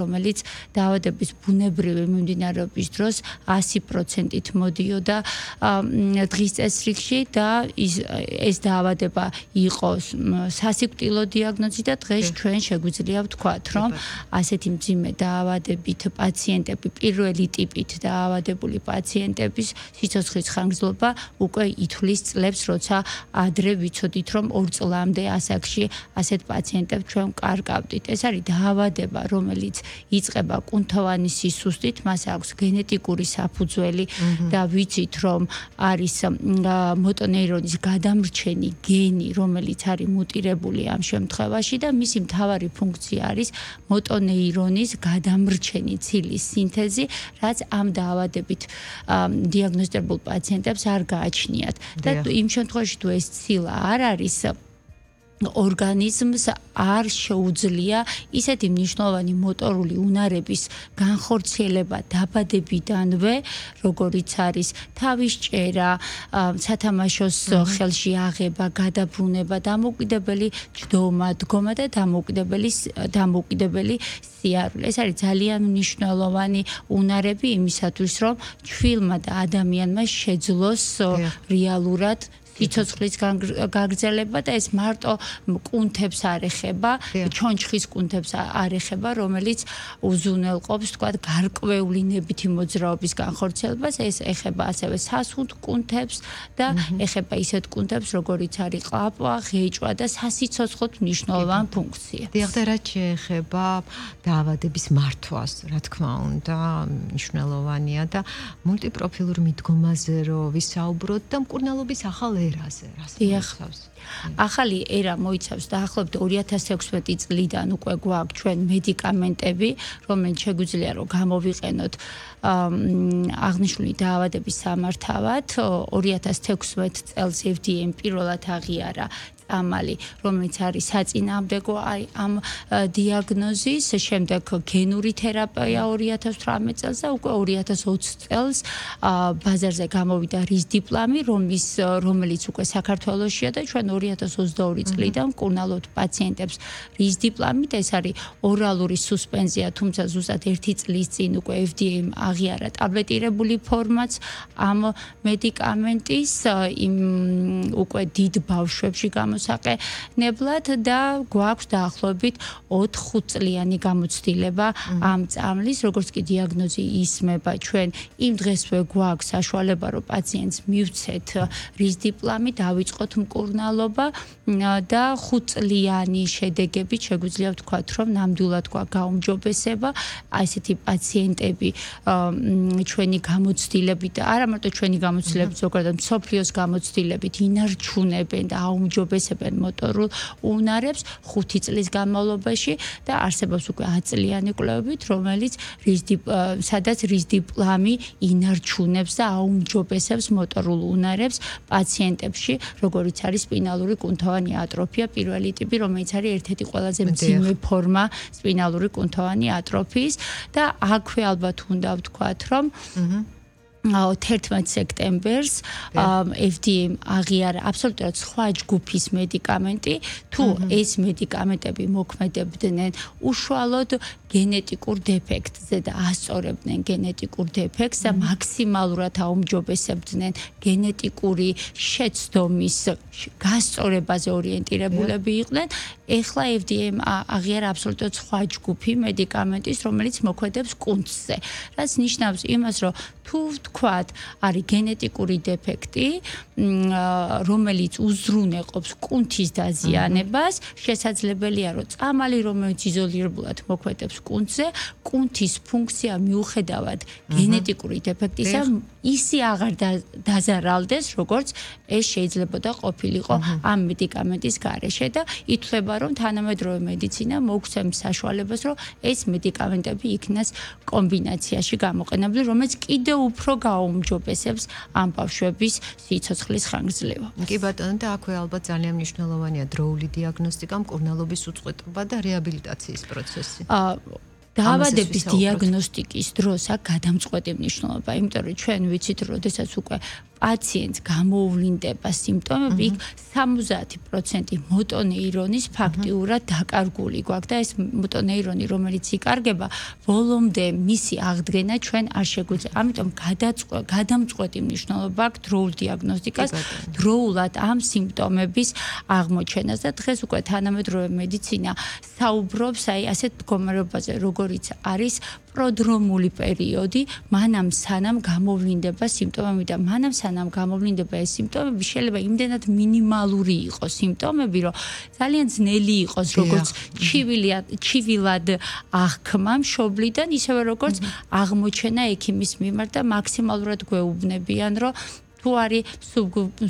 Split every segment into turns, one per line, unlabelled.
რომელიც დაავადების ბუნებრივი მიმდინარეობის დროს 100%-ით მოდიოდა დღის წესრიგში და ეს დაავადება იყო სასიკვდილო დიაგნოზი და დღეს ჩვენ შეგვიძლია ვთქვათ, რომ ასეთი მძიმე დაავადებით პაციენტები, პირველი ტიპით დაავადებული პაციენტების სიცოცხლის ხანგრძლობა უკვე ითვლის წლებს, როცა ადრე ვიცოდით, რომ 2 წლამდე ასაკში ასეთ პაციენტებს ჩვენ ვკარგავდით. ეს არის დაავადება, რომელიც იწყება კუნთოვანი სისუსტით, მას აქვს გენეტიკური საფუძველი და ვიცით, რომ არის მოტონეირონის გადამრჩენი გენი, რომელიც არის მუტირებული ამ შემთხვევაში და მისი მთავარი ფუნქცია არის მოტონეირონის გადამრჩენი ცილის სინთეზი, რაც ამ დაავადებით დიაგნოზდებულ პაციენტებს არ გააჩნიათ. და იმ შემთხვევაში თუ ეს ცილა არ არის ორგანიზმს არ შეუძლია ისეთი მნიშვნელოვანი მოტორული უნარების განხორციელება დაბადებიდანვე, როგორიც არის თავის ჭერა, სათამაშოს ხელში აღება, გადაბრუნება, დამოუკიდებელი ჯდომა, დგომა და დამოუკიდებელი სიარული. ეს არის ძალიან მნიშვნელოვანი უნარები იმისათვის, რომ ჩვილმა და ადამიანმა შეძლოს რეალურად სიცოცხლის გაგრძელება და ეს მარტო კუნთებს არ ეხება, ჩონჩხის კუნთებს არ ეხება, რომელიც უზრუნველყოფს, თქვათ, გარკვეული ნებითი მოძრაობის განხორციელებას, ეს ეხება ასევე სასუნთ კუნთებს და ეხება ისეთ კუნთებს, როგორიც არის ყლაპვა, ღეჭვა და სასიცოცხლოდ მნიშვნელოვანი ფუნქცია.
დიახ, და რაც შეეხება დაავადების მართვას, რა თქმა უნდა, მნიშვნელოვანია და მულტიპროფილურ მიდგომაზე რო ვისაუბროთ და მკურნალობის ახალ
ახალი ერა მოიცავს დაახლოებით 2016 წლიდან უკვე გვაქვს ჩვენ მედიკამენტები, რომელიც შეგვიძლია რომ გამოვიყენოთ აღნიშნული დაავადების სამართავად. 2016 წელს FDA-მ პირველად აღიარა წამალი, რომელიც არის საწინააღმდეგო ამ დიაგნოზის, შემდეგ გენური თერაპია 2018 წელს და უკვე 2020 წელს ბაზარზე გამოვიდა რისდიპლამი, რომელიც უკვე საქართველოშია და ჩვენ 2022 წლიდან ვკურნალობთ პაციენტებს რისდიპლამით. ეს არის ორალური სუსპენზია, თუმცა ზუსტად 1 წლის წინ უკვე FDA-მ აღიარა ტაბლეტირებული ფორმაც ამ მედიკამენტის უკვე დიდ ბავშვებში გამოსაყენებლად და გვაქვს დაახლოებით 4 წლიანი გამოცდილება ამ წამლის, როგორც კი დიაგნოზი ისმება, ჩვენ იმ დღესვე გვაქვს საშუალება, რომ პაციენტს მივცეთ რისდიპლამი, დავიწყოთ მკურნალობა და 5 წლიანი შედეგებით შეგვიძლია ვთქვათ, რომ ნამდვილად გვაქვს გაუმჯობესება. ასეთი პაციენტები ჩვენი გამოცდილებით და არა მარტო ჩვენი გამოცდილებით, ზოგადად მსოფლიოს გამოცდილებით ინარჩუნებენ და აუმჯობესებენ მოტორულ უნარებს 5 წლის განმავლობაში და არსებობს უკვე 10 წლიანი კვლევებით, რომელიც სადაც რისდიპლამი ინარჩუნებს და აუმჯობესებს მოტორულ უნარებს პაციენტებში, როგორიც არის სპინალური კუნთოვანი ატროფია პირველი ტიპი, რომელიც არის ერთ-ერთი ყველაზე მძიმე ფორმა სპინალური კუნთოვანი ატროფიის და აქვე ალბათ უნდა ვთქვათ, რომ 11 სექტემბერს FDA-მ აღიარა აბსოლუტურად სხვა ჯგუფის მედიკამენტი, თუ ეს მედიკამენტები მოქმედებდნენ უშუალოდ გენეტიკურ დეფექტზე და ასწორებდნენ გენეტიკურ დეფექტს და მაქსიმალურად აუმჯობესებდნენ გენეტიკური შეცდომის გასწორებაზე ორიენტირებულები იყვნენ. ეხლა FDA-მ აღიარა აბსოლუტურად სხვა ჯგუფი მედიკამენტის, რომელიც მოქმედებს კუნთზე, რაც ნიშნავს იმას, რომ თუ ვთქვათ, არის გენეტიკური დეფექტი, რომელიც უზრუნველყოფს კუნთის დაზიანებას, შესაძლებელია, რომ წამალი, რომელიც იზოლირებულად მოქმედებს კუნთზე, კუნთის ფუნქცია მიუხედავად გენეტიკური დეფექტისა ისე აღარ დაზარალდეს, როგორც ეს შეიძლებოდა ყოფილიყო ამ მედიკამენტის გარეშე და ითვლება, რომ თანამედროვე მედიცინა მოგცემს საშუალებას, რომ ეს მედიკამენტები იქნას კომბინაციაში გამოყენებული, რომელიც კიდევ უფრო გაუმჯობესებს ამ ბავშვების სიცოცხლის ხანგრძლივობა.
კი ბატონო, და აქვე ალბათ ძალიან მნიშვნელოვანია დროული დიაგნოსტიკა, მკურნალობის უწყვეტობა და რეაბილიტაციის პროცესი.
დაავადების დიაგნოსტიკის დროს აქ გადამწყვეტი მნიშვნელობა, იმიტომ რომ ჩვენ ვიცით, რომ შესაძაც უკვე პაციენტს გამოუვლინდება სიმპტომები, იქ 70% მოტონეირონის ფაქტიურად დაკარგული გვაქვს და ეს მოტონეირონი, რომელიც იკარგება, ბოლომდე მისი აღდგენა ჩვენ არ შეგვიძლია. ამიტომ გადამწყვეტი მნიშვნელობა აქვს დროულ დიაგნოსტიკას, დროულად ამ სიმპტომების აღმოჩენას და დღეს უკვე თანამედროვე მედიცინა საუბრობს ასეთ მდგომარეობაზე, როგორიც არის პროდრომული პერიოდი, მანამ სანამ გამოვლინდება სიმპტომები და მანამ სანამ გამოვლინდება ეს სიმპტომები, შეიძლება იმდენად მინიმალური იყოს სიმპტომები, რომ ძალიან ძნელი იყოს, როგორც ჩივილად აღქმა მშობლიდან, ისევე როგორც აღმოჩენა ექიმის მიმართ და მაქსიმალურად გვეუბნებიან, რომ თუ არის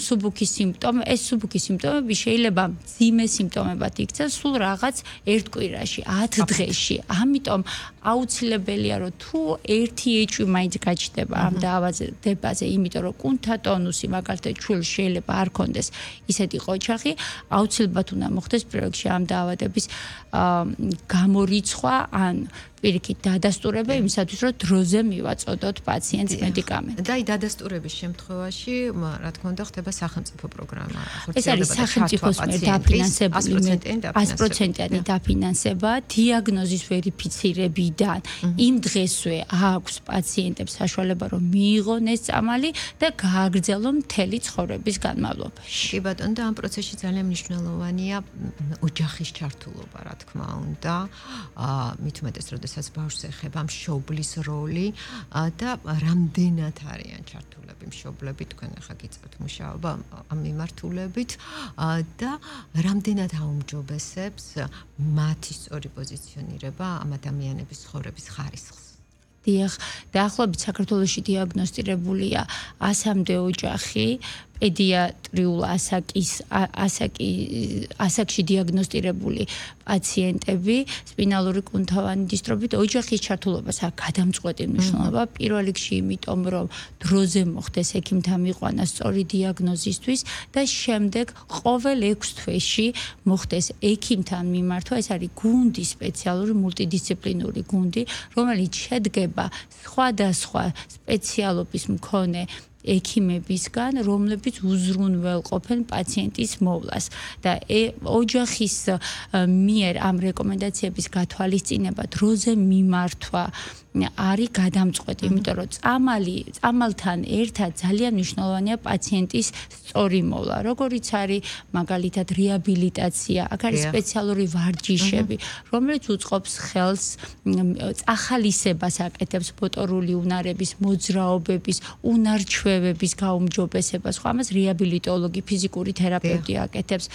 სუბუქი სიმპტომი, ეს სუბუქი სიმპტომები შეიძლება მძიმე სიმპტომებად იქცეს სულ რაღაც ერთ კვირაში, 10 დღეში. ამიტომ აუცილებელია, რომ თუ ერთი ეჭვი მაინც გაჩნდება ამ დაავადებაზე, იმიტომ რომ კუნთთა ტონუსი, მაგალითად, ჩვილს შეიძლება არ ქონდეს ისეთი ყოჩაღი, აუცილებლად უნდა მოხდეს პირველ რიგში ამ დაავადების გამორიცხვა ან პირიქით დადასტურება იმისათვის, რომ დროზე მივაწოდოთ პაციენტს მედიკამენტი.
და დადასტურების შემთხვევაში, რა თქმა უნდა, ხდება სახელმწიფო პროგრამა.
ეს არის სახელმწიფოს მიერ დაფინანსებული 100%-იანი დაფინანსება, დიაგნოზის ვერიფიცირებიდან იმ დღესვე აქვს პაციენტებს საშუალება, რომ მიიღონ ეს წამალი და გააგრძელონ მთელი ცხოვრების განმავლობაში.
კი ბატონო, და ამ პროცესში ძალიან მნიშვნელოვანია ოჯახის ჩართულობა, რა თქმა უნდა. მით უმეტეს, როდესაც ბავშვს ეხება მშობლის როლი და რამდენად არიან ჩართულები მშობლები, თქვენ ახლა გიწევთ მუშაობა ამ მიმართულებით და რამდენად აუმჯობესებს მათი სწორი პოზიციონირება ამ ადამიანების ცხოვრების ხარისხს.
დიახ, დაახლოებით საქართველოში დიაგნოსტირებულია 100-მდე ოჯახი, პედიატრიულ ასაკში დიაგნოსტირებული პაციენტები სპინალური კუნთოვანი დისტროფით. ოჯახის ჩართულობას აქვს გადამწყვეტი მნიშვნელობა, პირველ რიგში იმიტომ, რომ დროზე მოხდეს ექიმთან მიყვანა სწორი დიაგნოზისთვის და შემდეგ ყოველ 6 თვეში მოხდეს ექიმთან მიმართვა. ეს არის გუნდი, სპეციალური მულტიდისციპლინური გუნდი, რომელიც შედგება სხვადასხვა სპეციალობის მქონე ექიმებისგან, რომლებიც უზრუნველყოფენ პაციენტის მოვლას და ოჯახის მიერ ამ რეკომენდაციების გათვალისწინება დროზე მიმართვა არის გადამწყვეტი, იმიტომ რომ წამალთან ერთად ძალიან მნიშვნელოვანია პაციენტის სწორი მოვლა, როგორიც არის მაგალითად რეაბილიტაცია, აქ არის სპეციალური ვარჯიშები, რომელიც უწყობს ხელს წახალისებას აკეთებს მოტორული უნარების, მოძრაობების, უნარჩვევების გაუმჯობესებას, ხო ამას რეაბილიტოლოგი, ფიზიკური თერაპევტი აკეთებს.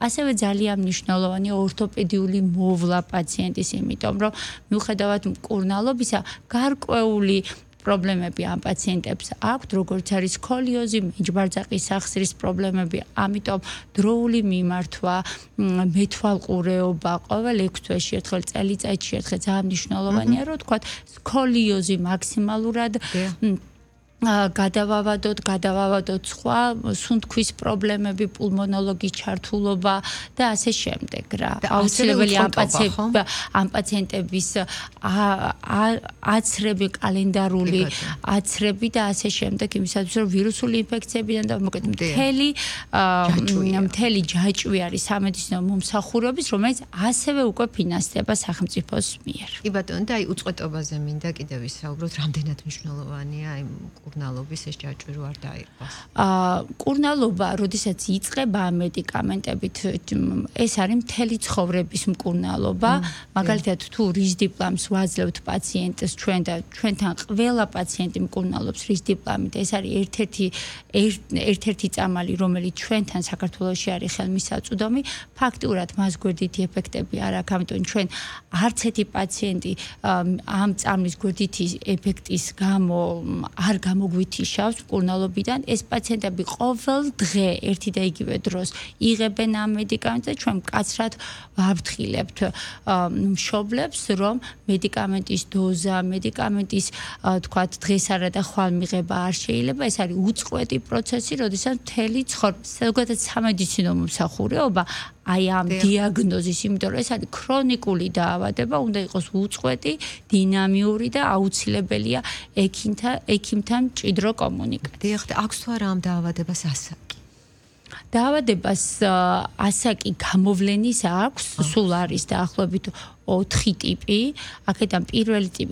ასევე ძალიან მნიშვნელოვანია ორთოპედიული მოვლა პაციენტის, იმიტომ რომ მიუხედავად მკურნალობისა გარკვეული პრობლემები ამ პაციენტებს აქვთ, როგორც არის სკოლიოზი, მეჯბარძაყის სახსრის პრობლემები, ამიტომ დროული მიმართვა, მეთვალყურეობა ყოველ 6 თვეში ერთხელ, წელიწადში ერთხელ ძალიან მნიშვნელოვანია, რომ თქვა სკოლიოზი მაქსიმალურად გადავავადოთ სხვა სუნთქვის პრობლემები, პულმონოლოგის ჩართულობა და ასე შემდეგ რა. აუცილებელია ამ პაციენტების აცრები, კალენდარული აცრები და ასე შემდეგ, იმისათვის რომ ვირუსული ინფექციებიდან და მოკლედ მთელი ჯაჭვი არის სამედიცინო მომსახურების, რომელიც ასევე უკვე ფინანსდება სახელმწიფოს მიერ.
კი ბატონო, და უწყვეტობაზე მინდა კიდევ ვისაუბროთ, რამდენად მნიშვნელოვანია იმ კურნალობის ეს ჯაჭვი რო არ დაიყოს.
კურნალობა, როდესაც იწყება მედიკამენტებით, ეს არის მთელი ცხოვრების მკურნალობა. მაგალითად, თუ რისდიპლამს ვაძლევთ პაციენტს ჩვენ და ჩვენთან ყველა პაციენტი მკურნალობს რისდიპლამით. ეს არის ერთ-ერთი წამალი, რომელიც ჩვენთან საქართველოში არის ხელმისაწვდომი. ფაქტიურად მას გვერდითი ეფექტები არ აქვს, ამიტომ ჩვენ არც ერთი პაციენტი ამ წამლის გვერდითი ეფექტის გამო არ გამოგვითიშავს მკურნალობიდან. ეს პაციენტები ყოველ დღე ერთი და იგივე დროს იღებენ ამ მედიკამენტს და ჩვენ მკაცრად ვაფრთხილებთ მშობლებს, რომ მედიკამენტის დოზა, მედიკამენტის თქვათ დღესარა და ხვალ მიღება არ შეიძლება. ეს არის უწყვეტი პროცესი, როდესაც მთელი ცხოვრება, ზოგადად სამედიცინო მომსახურეობა აი ამ დიაგნოზის, იმიტომ რომ ეს არის ქრონიკული დაავადება, უნდა იყოს უწყვეტი, დინამიური და აუცილებელია ექიმთან მჭიდრო კომუნიკაცია.
დიახ, აქვს თუ არა ამ დაავადებას ასაკი?
დაავადებას ასაკი გამოვლენის აქვს, სულ არის დაახლოებით 4 ტიპი. აქედან პირველი ტიპი